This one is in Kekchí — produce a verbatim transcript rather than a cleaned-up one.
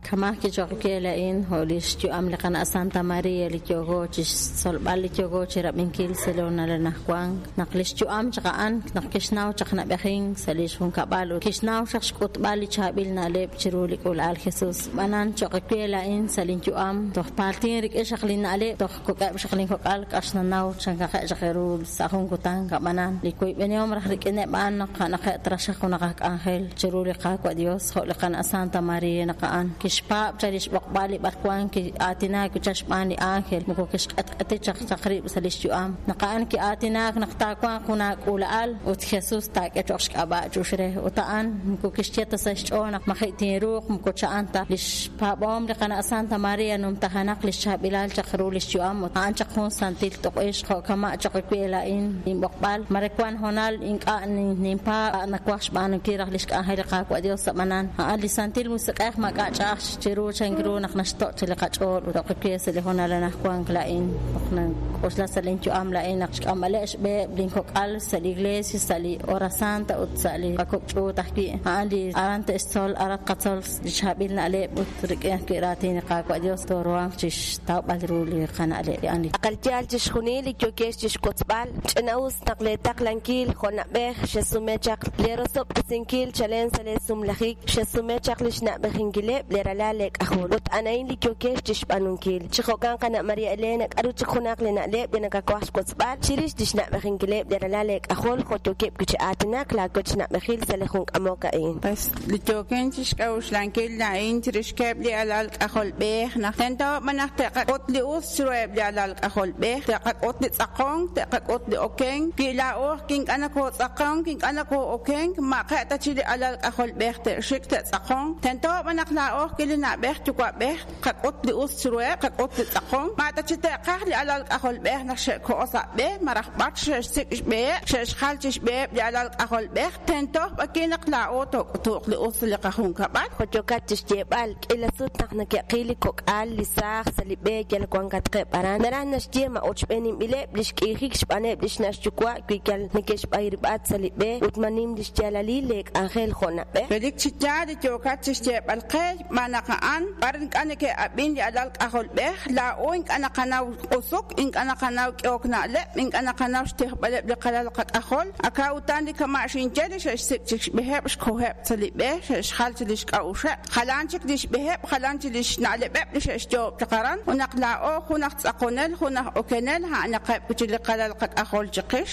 Kama' kichoq' laa'in jo' li xyu'am li qana' Santa Maria li yooko chi xtzolb'al li yooko chi rab'inkil sa' li honal anaqwan naq li xyu'am chaq a'an naq kixnaw chaq nab'ejink sa' li xjunkab'al ut kixnaw chaq xk'utb'al li chaab'il na'leb' chiru li k'uula'al Jesus b'anan choq' we laa'in sa' linyu'am toj paltin rik'in xaq li na'leb' toj kok'eb' xaq linkok'al k'axnanaw chankaqe' chaq ru sa' jun kutan kab'anan li kuyb'enihom raj rik'ineb' a'an naq a'anaqe' traxaq junaq aj k'anjel chiru li Qaawa' Dios jo' li qana' Santa Maria naq a'an kixpaab' chaq li xb'oqb'al li b'arwan ki'aatinaak chaq xb'aan li ángel moko kixq'etq'eti chaq chaq rib' sa' li xyu'am naq a'an ki'aatinaak naq taawanq jun aak'uula'al ut Jesus taak'e cho'q xk'ab'a' chux re ut a'an moko kixye ta sa' xch'ool naq maji' tinruuq moko cha'an ta li xpaab'oom li qana' Santa Maria numtajanaq li xchaab'ilal chaq ru li xyu'am ut a'an chaq jun santil t'uq'ix jo' kama' choq we laa'in inb'oqb'al mare wan honal ink'a' ninpaab' nawaj xb'aanunkil raj li xk'anjel li Qaawa' Dios ab'anan a'an li Santil Musiq'ej maak'a' ch'a'aj chiru chank ru naq naxto' chi li qach'ool ut oq we sa' li honal anaqwan laa'in naq nank'oxla sa' linyu'am laa'in naq xk'amb'aleb' xb'eheb' linkok'al sa' li iglesia sa' li hora santa ut sa' li qakok' ch'uut ajwi' a'an li aran te'xtzol aran qatzol li chaab'il na'leb' ut rik'in ajwi' raatin li Qaawa' Dios tooruhanq chi xtawb'al ru li qana'leb' a'an li Aqal yaal chixjunil li yokex chixwotzb'al ch'ina'us naq le taqlankil jo' na'b'ej xesume chaq le rosob'tesinkil chalen sa' le sumlajik xesume chaq li xna'b'ejinkileb' le ralal le k'ajol ut anain li yokex chixb'aanunkil chi jo'kan qana' Maria Elena k'aru chik junaq li na'leb' li nakawaj xwotzb'al chirix li xna'b'ejinkileb' le ralal le k'ajol jo' yokeb' chi aatinak laawech na'b'ejil sa' li jun k'amok a'in. Pues li yoken chixk'a'uxlankil la'in chirixkeb' li alal k'ajolb'ej naq tento b'an naq te'qak'ut li us chiruheb' li alal k'ajolb'ej te'qak'ut li tz'aqonk te'qak'ut li okenk wi laa'oj kink'a' nakootz'aqonk kink'a' nakoo'okenk maqe' ta chi li alal k'ajolb'ej te'xik te'tz'aqonk tento b'an naq laa'oj ki li na'b'ej yuwa'b'ej qak'ut li us chiruheb' qak'ut li tz'aqonk ma ta chi te'qaj li alal k'ajolb'ej naq xe'ko'o sa' b'e maraj b'ar xe'xsik' xb'eheb' xe'xjal chi xb'eheb' li alal k'ajolb'ej tento b'aki naq laa'o took'utuuq li us li qajunkab'al jo' yokat chixyeeb'al k'ila sut naq nake'qil li kok'al li saaj sa' li b'e yal wankatqeb' aran naraj naxye ma ochb'eeninb'ileb' li xk'iijik xb'aaneb' li xna' xyuwa' wi yal neke'xb'ayrib'at sa' li b'e ut ma nim li xyaalalil le k'anjel jo' na'b'ej. Relik chi yaal li yookat chixyeeb'al qe xb'aan naq a'an b'ar ink'a' neke'ab'in li alal k'ajolb'ej laa'o ink'a' naqanaw q'usuk ink'a' naqanaw k'ehok na'leb' ink'a' naqanaw xtijb'aleb' li qalal qak'ajol aka utan li kama' xinye li xe'xsik' chik xb'eheb' xkoheb' sa' li b'e xe'xjal chi li xk'a'uxeb' jalan chik li xb'eheb' jalan chi li xna'leb'eb' li xe'xyoob' chaq aran ut naq laa'o jun aj tz'aqonel jun aj okenel a'anaqeb' chi li qalal qak'ajol chiqix.